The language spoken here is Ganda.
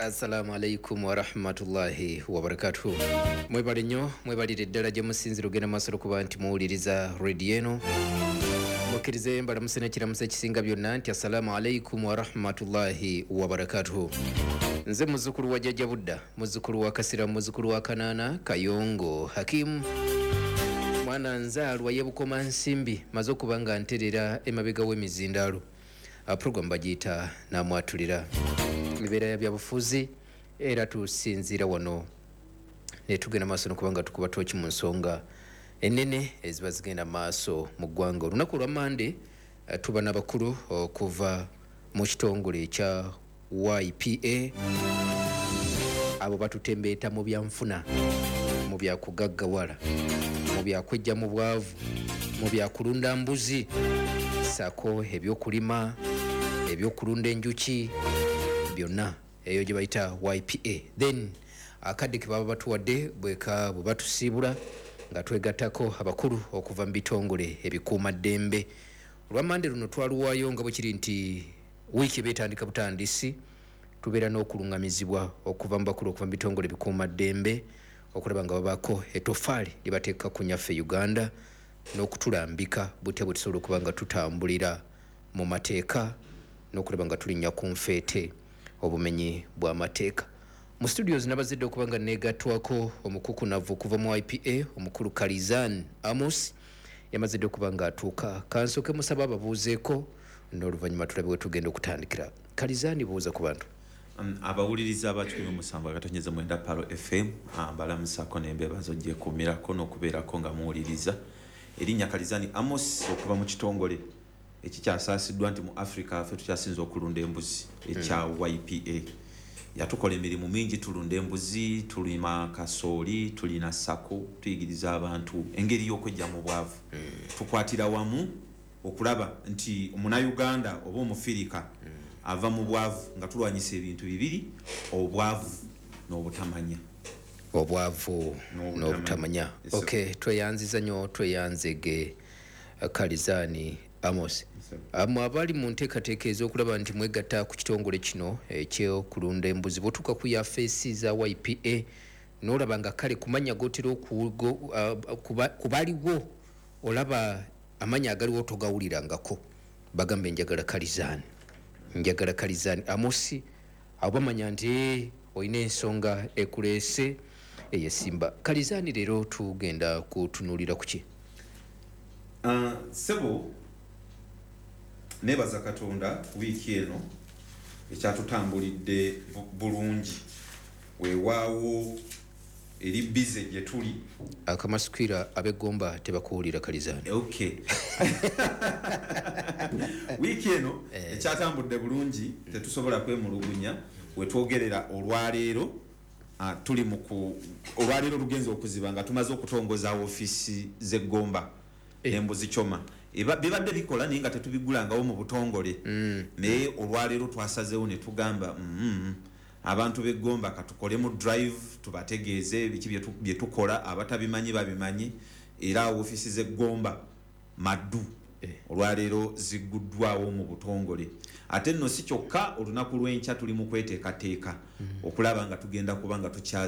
Assalamu alaikum warahmatullahi wabarakatuhu. Mwebale nnyo, mwebalire ddala gye musinzira ogenda maaso okuba nti muwuliriza rediyo eno. Mukkirize mbalamuse n'ekiramuso ekisinga byonna nti assalamu alaikum warahmatullahi wabarakatuhu. Nze muzzukulu wa Jjajja Budda, muzzukulu wa Kasira, muzzukulu wa Kanaana Kayongo Hakimu, mwana nzaalwa y'e Bukomansimbi, maze okuba nga nterera emabega w'emizindaalo. Program bagiyita Namwatulira, mibeera ya byabufuzi, era tusinziira wano netugenda maaso nokuba nga tukuba tooki mu nsonga enene eziba zigenda maaso mu ggwanga. Olunaku olwa Mande tuba n'abakulu okuva mu kitongole ekya YPA. Abo batutembeeta mu byanfuna, mu byakugaggawala, mu byakwejja mu bwavu, mu byakulunda mbuzi, saako ebyokulima, ebyokulunda enjuki, byonna eyo gye bayita YPA. Then akadde ke baba batuwadde bweka bwe batusiibula nga twegattako abakulu okuva mu bitongole ebikuumaddembe. Olwamande luno twaluwaayo nga bwe kiri nti wiiki eba etandika butandisi, tubeera n'okuluŋŋamizibwa okuva mu bakulu okuva mu bitongole ebikuumaddembe okulaba nga babaako etofaali lye bateeka ku nyaffe Uganda n'okutulambika butya bwe tusobola okuba nga tutambulira mu mateeka n'okulaba nga tulinnya ku nfeete obumenyi bw'amateeka. Mu studios nabazidde okuba nga neegattwako omukukunavu okuva mu YPA, omukulu Kalizan Amos, yamazidde okuba nga atuuka. Kansooke musaba ababuuzeeko n'oluvannyuma tulabe we tugenda okutandikira. Kalizani, buuza ku bantu. Abawuliriza aba 107.9 Palo FM, mbalamusako nembebaza ogyekuumirako n'okubeerako nga muwuliriza. Erinnya Kalizani Amos, okuva mu kitongole ekikyasaasiddwa nti mu Africa ffe tukyasinza okulunda embuzi ekya YPA. Yatukola emirimu mingi: tulunda embuzi, tulima kasooli, tulina SACCO, tuyigiriza abantu engeri y'okwejja mu bwavu. Tukwatira wamu okulaba nti omunauganda oba omufirika ava mu bwavu nga tulwanyisa ebintu bibiri: obwavu n'obutamanya. Obwavu n'obutamanya. N'obutamanya. Yes, sir. Ok, tweyanziza nnyo, tweyanzege Kalizani Amos. Mwe abali mu nteekateeka ez'okulaba nti mwegatta ku kitongole kino ekyokulunda embuzi, bw'otuuka ku yafeesi za YPA n'olaba nga kale kumanya gotera kubaliwo, olaba amanya agaliwo togawulirangako, bagambe njagala Kalizani, njagala Kalizani Amosi, abo bamanya nti olina ensonga ekuleese eyesimba. Kalizani, leero tugenda kutunuulira kuki? Sebo, nebaza Katonda, wiiki eno ekyatutambulidde bulungi, weewaawo eri busy gye tuli. Akamasukwira ab'eggomba tebakuwulira, Kalizani. Okay, wiiki eno ekyatambudde bulungi, tetusobola kwemulugunya. Wetwogerera olwaleero, tuli mu ku olwaleero lugenza okuziba nga tumaze okutongoza ofiisi z'eggomba embuzi kyoma. Bibadde bikola naye nga tetubigulangawo mu butongole, naye olwaleero twasazeewo ne tugamba, abantu b'eggomba katukolemu drive tubategeeze biki bye tukola, abatabimanyi babimanyi. Era ofiisi z'eggomba maddu olwaleero zigguddwawo mu butongole. Ate nno si kyokka, olunaku lw'enkya tuli mu kweteekateeka okulaba nga tugenda kuba nga tukyaza